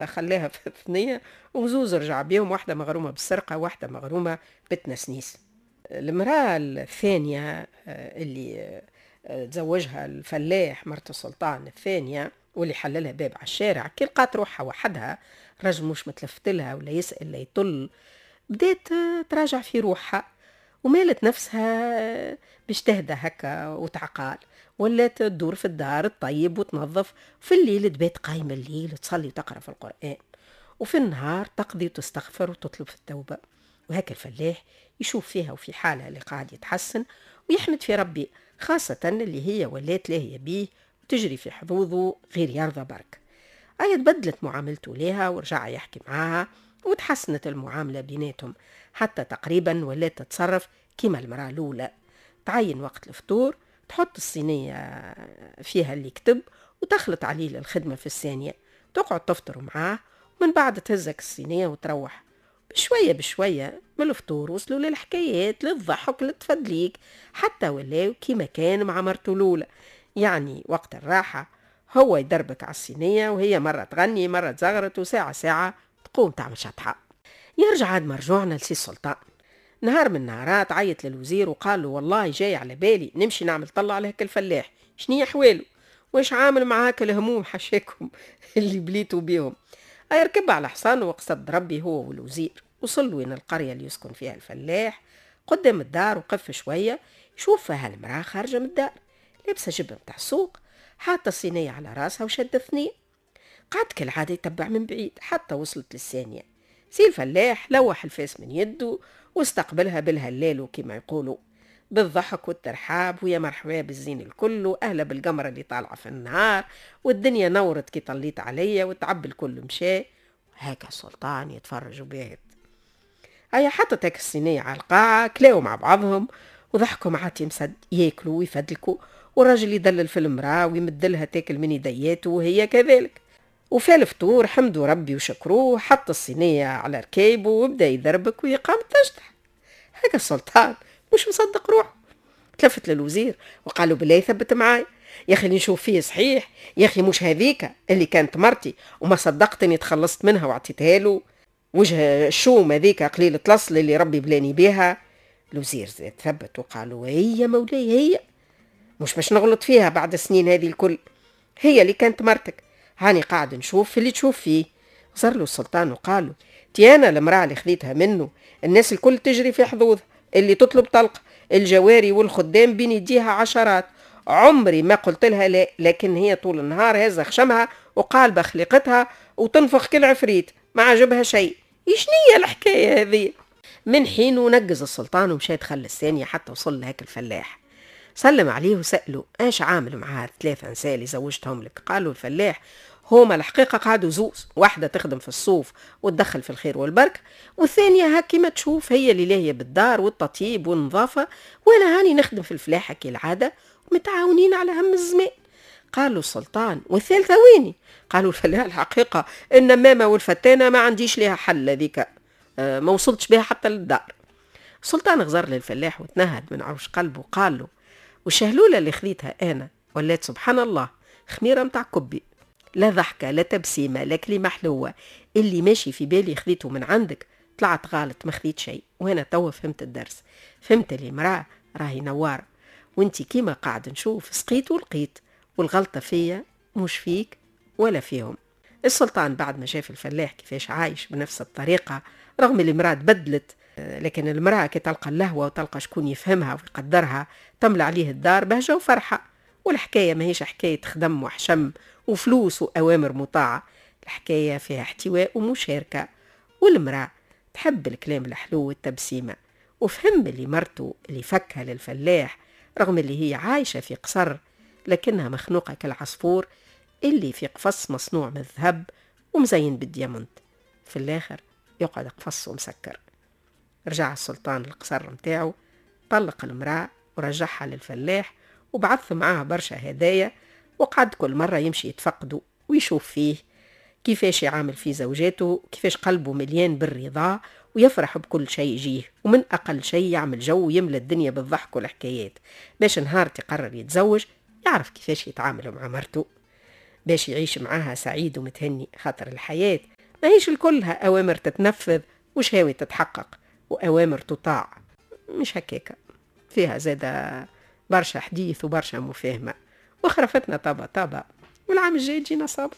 خلاها في الثنية وزوز رجع بيهم، واحدة مغرومة بالسرقة واحدة مغرومة بالتنسنيس. المرأة الثانية اللي تزوجها الفلاح مرت السلطان الثانية واللي حللها باب على الشارع، كي لقات روحها وحدها، رجل مش متلفت لها ولا يسأل لا يطل، بدات تراجع في روحها ومالت نفسها باش تهدى هكا وتعقال، ولات تدور في الدار تطيب وتنظف، في الليل تبات قايمة الليل تصلي وتقرأ في القرآن، وفي النهار تقضي وتستغفر وتطلب في التوبة. وهكا الفلاح يشوف فيها وفي حالها اللي قاعد يتحسن ويحمد في ربي، خاصة اللي هي ولات لاهية بيه وتجري في حظوظه غير يرضى برك. أي تبدلت معاملته ليها ورجع يحكي معاها وتحسنت المعاملة بيناتهم، حتى تقريبا ولات تتصرف كيما المرأة الأولى، تعين وقت الفطور، تحط الصينية فيها اللي كتب وتخلط عليه للخدمة في الثانية، تقعد تفطر معاه ومن بعد تهزك الصينية وتروح. بشوية بشوية من الفطور وصلوا للحكايات، للضحك، للتفدليك، حتى ولاو كيما كان مع مرته الأولى. يعني وقت الراحة هو يدربك على الصينية وهي مرة تغني مرة تزغرت، وساعة ساعة تقوم تعمل شطحة. يرجع عاد مرجوعنا لسي السلطان. نهار من النهارات عيط للوزير وقال له والله جاي على بالي نمشي نعمل طلع على هاك الفلاح، شنية حواله واش عامل معاك الهموم حشاكم اللي بليتوا بيهم. أي ركب على حصانه وقصد ربي هو والوزير، وصل وين القرية اللي يسكن فيها الفلاح. قدام الدار وقف شوية يشوف فيها المرأة خارجة من الدار، لابسة جبة متاع السوق، حاطة الصينية على راسها وشادة ثنية. قعد كالعادة يتبع من بعيد حتى وصلت للثانية. سي الفلاح لوح الفاس من يده واستقبلها بالهلال كما يقولوا، بالضحك والترحاب، ويا مرحبا بالزين الكل وأهلا بالقمرة اللي طالعة في النهار، والدنيا نورت كي طليت عليا والتعب الكل مشى. هكا السلطان يتفرج وباهت. هيا حطت هيك الصينية على القاعة، كلاو مع بعضهم وضحكوا مع تيمسد، ياكلوا ويفدلكوا، والراجل يدلل في المرأة ويمدلها تاكل من يدياته وهي كذلك. وفي الفطور حمدوا ربي وشكروه، حط الصينية على ركيبه وبدا يدربك ويقام تشطح. هكا السلطان مش مصدق روحه، تلفت للوزير وقالوا بالله يثبت معاي يا اخي اللي نشوف فيه صحيح، يا اخي مش هذيك اللي كانت مرتي وما صدقت اني تخلصت منها وعطيتها له، وجه الشوم هذيك قليلة الاصل اللي ربي بلاني بيها. الوزير زاد ثبت وقالوا هي مولاي هي، مش باش نغلط فيها بعد السنين هذه الكل، هي اللي كانت مرتك، هاني قاعد نشوف في اللي تشوف فيه. صار له السلطان وقالوا تي انا المرأة اللي خذيتها منه الناس الكل تجري في حظوظها، اللي تطلب طلق، الجواري والخدام بين يديها عشرات، عمري ما قلت لها لا، لكن هي طول النهار هزة خشمها وقالبة خليقتها وتنفخ كل عفريت، ما عجبها شيء. شنية الحكاية هذه؟ من حين ونقز السلطان ومشى دخل الثانية حتى وصل لهاك الفلاح، سلم عليه وسأله ايش عامل معاه الثلاثة نساء اللي زوجتهم لك؟ قالوا الفلاح هما الحقيقة قعدوا زوز، واحدة تخدم في الصوف وتدخل في الخير والبركة، والثانية هكي ما تشوف هي اللي لاهية بالدار والتطيب والنظافة، وانا هاني نخدم في الفلاحة كالعادة ومتعاونين على هم الزمان. قالوا السلطان والثالثة ويني؟ قالوا الفلاح الحقيقة النمامة والفتانة ما عنديش لها حل، هذيك ما وصلتش بها حتى للدار. السلطان غزر للفلاح وتنهد من عروش قلبه وقال له والشهلولة اللي خذيتها أنا ولات سبحان الله خميرة متاع كبي، لا ضحكة لا تبسيمة لا كلمة حلوة، اللي ماشي في بالي خذيته من عندك طلعت غلط، ما خذيت شيء. وأنا توا فهمت الدرس، فهمت اللي مرأة راهي نوارة، وانتي كيما قاعد نشوف سقيت ولقيت، والغلطة فيا مش فيك ولا فيهم. السلطان بعد ما شاف الفلاح كيفاش عايش بنفس الطريقة رغم اللي المرأة تبدلت، لكن المرأة كي تلقى اللهوة وتلقى شكون يفهمها ويقدرها تملى عليه الدار بهجة وفرحة. والحكاية ماهيش حكاية خدم وحشم وفلوس وأوامر مطاعة، الحكاية فيها احتواء ومشاركة، والمرأة تحب الكلام الحلو والتبسيمة. وفهم اللي مرته اللي فكها للفلاح رغم اللي هي عايشة في قصر لكنها مخنوقة كالعصفور اللي في قفص مصنوع من الذهب ومزين بالديامنت، في الآخر يقعد قفص ومسكر. رجع السلطان القصر متاعه، طلق المرأة ورجعها للفلاح وبعث معاها برشا هدايا، وقعد كل مرة يمشي يتفقده ويشوف فيه كيفاش يعامل في زوجاته، كيفاش قلبه مليان بالرضا ويفرح بكل شيء يجيه، ومن أقل شيء يعمل جو ويملى الدنيا بالضحك والحكايات، باش نهار تقرر يتزوج يعرف كيفاش يتعامل مع مرته. باش يعيش معاها سعيد ومتهني، خاطر الحياة ماهيش الكلها أوامر تتنفذ وشهاوي تتحقق وأوامر تطاع، مش هكاكا، فيها زادة برشا حديث وبرشا مفاهمة، وخرفتنا طابة طابة، والعام الجاي تجينا صابة.